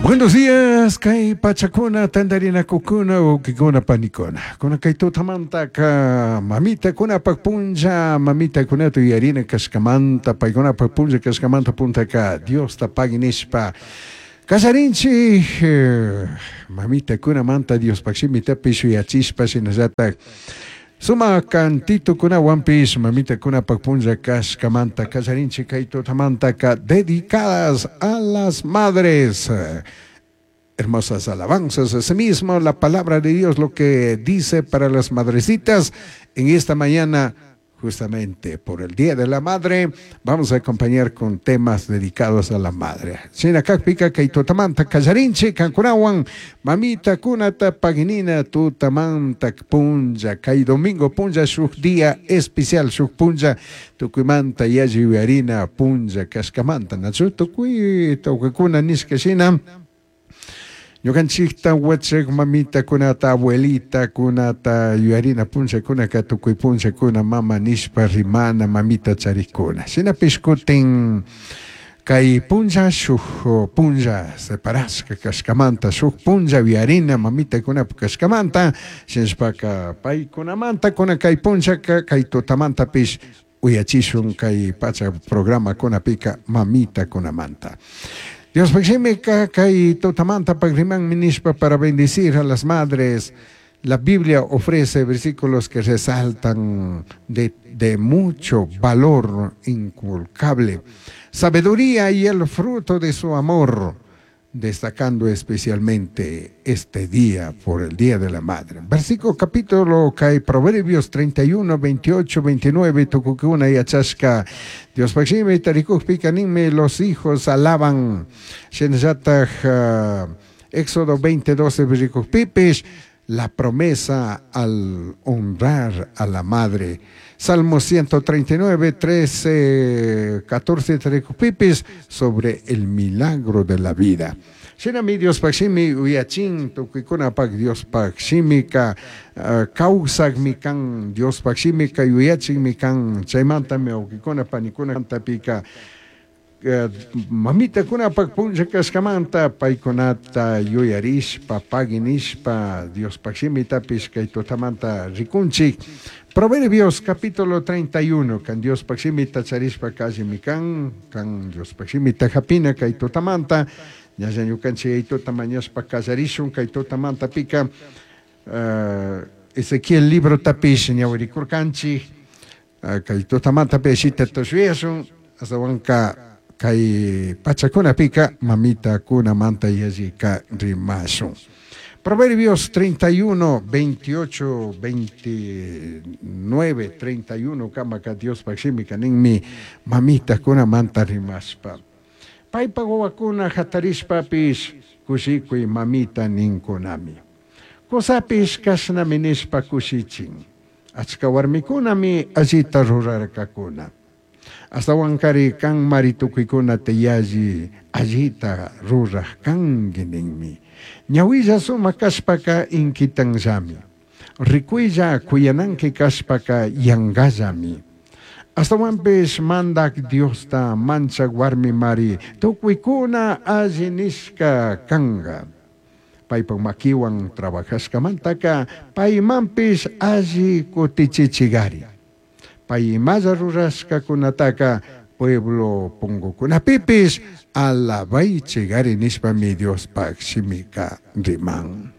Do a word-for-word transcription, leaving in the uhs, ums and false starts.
Buenos días, kay pachakuna, tantarinakukuna, wawqikuna, panikuna. Kuna kay tutamantaka mamitakunapak punlla, mamitakunata yuyarina kashkamanta, paykunapak punlla kashkamanta puntaka Diosta pagui nishpa kallarinchik, mamitakunamanta Diospak shimitapish yuyachishpa shinallatak sumak cantitukunawanpish mamitakunapak punlla kashkamanta kallarinchik kay tutamantaka dedicadas a las madres. Hermosas alabanzas, asimismo la palabra de Dios lo que dice para las madrecitas en esta mañana, justamente por el Día de la Madre, vamos a acompañar con temas dedicados a la madre. Shina kakpika kay tutamanta kallarinchik kankunawan mamitakunata paginina tutamanta punlla kay domingo punlla shuk día especial shuk punlla tukuymanta yalli yuyarina punlla kashkamanta nachu tukuy tawkakuna nishka shina ñukanchikta wachak mamitakunata abuelitakunata yuyarina punllakunaka tukuy punllakuna mama nishpa rimana mamita charikuna shinapish kutin kay punlla shuk punlla separashka kashkamanta shuk punlla yuyarina mamitakunapak kashkamanta shinashpaka paykunamanta kuna kay punllaka kay tutamantapish uyachishun kay pacha programakunapika mamitakunamanta. Dios shimika kay tutamanta rimanmi nishpa para bendecir a las madres. La Biblia ofrece versículos que resaltan de, de mucho valor inculcable, sabiduría y el fruto de su amor, destacando especialmente este día por el Día de la Madre. Versículo capítulo kay Proverbios treinta y uno, veintiocho, veintinueve, tukukuna yachashka. Dios pakshimi tarikukpika ninmi los hijos alaban. Shinallataj uh, Éxodo veinte, doce, rikukpipish, la promesa al honrar a la madre. Salmo ciento treinta y nueve, trece, catorce, tarikukpipis, sobre el milagro de la vida. Shinami Dios pakshimi uyachin tukuykunapak Dios pakshimika uh, kawsakmi kan Dios pakshimika yuyachinmi kan chaymantami wawqikuna panikuna tapika uh, mamitakunapak punlla kashkamanta paykunata yuyarishpa paginishpa Dios pakshimitapis kay tutamanta rikunchik. Proverbios capítulo treinta y uno, kan Dios pakshimita charishpa kallimi kan, kan Dios pakshimita hapina kay tutamanta, ñalla ñukanchik aytuta mañashpa kallarishun kay tutamanta pika uh, Ezequiel libro tapish ñawirikurkanchik, uh, kay tutamanta pishita tushuyashun, astawanka kay pachakunapika mamitakunamanta yallika rimashun. Proverbios treinta y uno, veintiocho, veintinueve, treinta y uno, kamaka Dios pakshimika ninmi mamitakunamanta rimashpa. Paypa wawakuna hatarishpapish kushikuy mamita ninkunami. Kusapish kashnami nishpa kushichin. Achka warmikunami allita rurarkakuna. Astawankari kan mari tukuykunata yalli allita ruraj kanki ninmi. Ñawilla sumak kashpaka inkitanllami. Rikuylla kuyananki kashpaka yankallami. Astawanpish mandak Diosta manchak warmi mari tukuykuna alli nishka kanka. Paypak makiwan trabajashkamantaka paymanpish alli kutichichigari. Pay imalla rurashkakunataka pueblo punkukunapipis alabaychigari nishpami Diospak shimika riman.